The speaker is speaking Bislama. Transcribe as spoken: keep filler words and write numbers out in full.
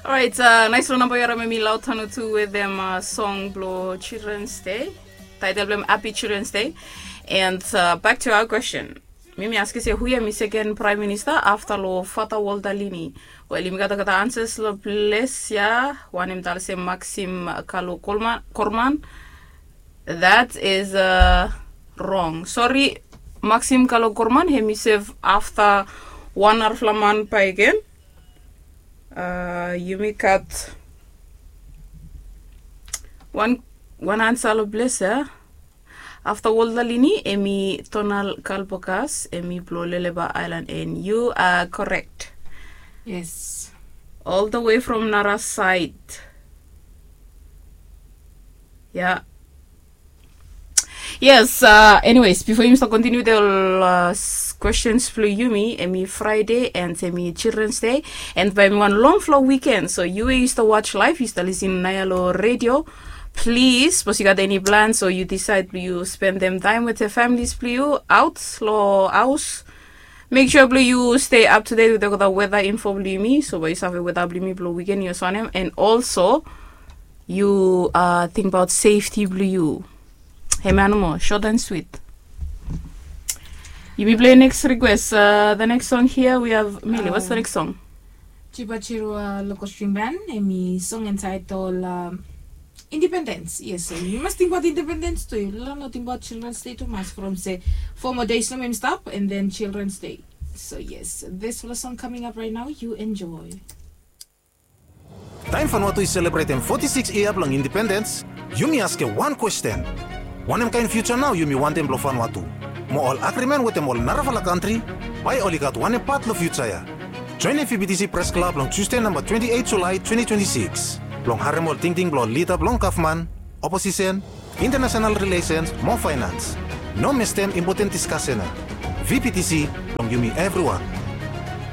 Orait, uh, naispela namba yu harim em i Lautanu tu wetem uh, song blo Children's Day. Title blo em Happy Children's Day. And uh, back to our question. Mi mi askem se hu ia mi second prime minister afta lo Father Walter Lini. Wel, yumi gat olgeta answers lo ples ia. Wanem i talem se Maxim Kalo Korman. That is uh, wrong. Sorry, Maxim Kalo Korman, hem i sef afta wan narafala man bakegen. Uh, yumi gat wan wan ansa lo ples ia. Afta Walter Lini, em i Donald Kalpokas, em i blo Leleba Island, and you are correct. Yes. All the way from Nara side. Yeah. Yes, uh, anyways, bifo yumi stap kontiniu wetem ol uh, questions blo yumi, em i Friday and em i Children's Day, and bae em i wan longfala weekend, so yu we yu stap watch live, yu stap lisin naoia lo radio, please, sapos yu gat eni plan, so yu decide blo yu spendem taem wetem families blo yu aot lo haos, make sure blo yu stay up to date wetem olgeta weather info blo yumi, so bae yu save weather blo yumi blo weekend yu save wanem, and also yu uh, tingbaot safety blo yu. Hemia nomo, short and sweet. Yumi play next request. Uh, the next song here we have Mili. What's the next song? Chiba Chirua Local String Band, em i song entitled um, Independence. Yes, so yu mas tingbaot independence tu. Yu no tingbaot Children's Day tumas from se four more days nomo em i stap, and then Children's Day. So yes, this little song coming up right now, you enjoy. Taem Vanuatu i selebretem foti sikis yia blong independens, yumi askem wan kwesten. Wanem kaen fiuja nao yumi wantem blong Vanuatu? Mo ol agrimen wetem ol narafala kantri, bae oli gat wanem pat long fiuja ya? Joenem VBTC Pres Klab long Tusde namba twenti eit Julae twenti twenti sikis blong harem ol tingting blong ol lida blong gavman, oposisen, internasenal rilesens mo faenans. No mistem impoten diskasen ya. VBTC blong yumi evriwan.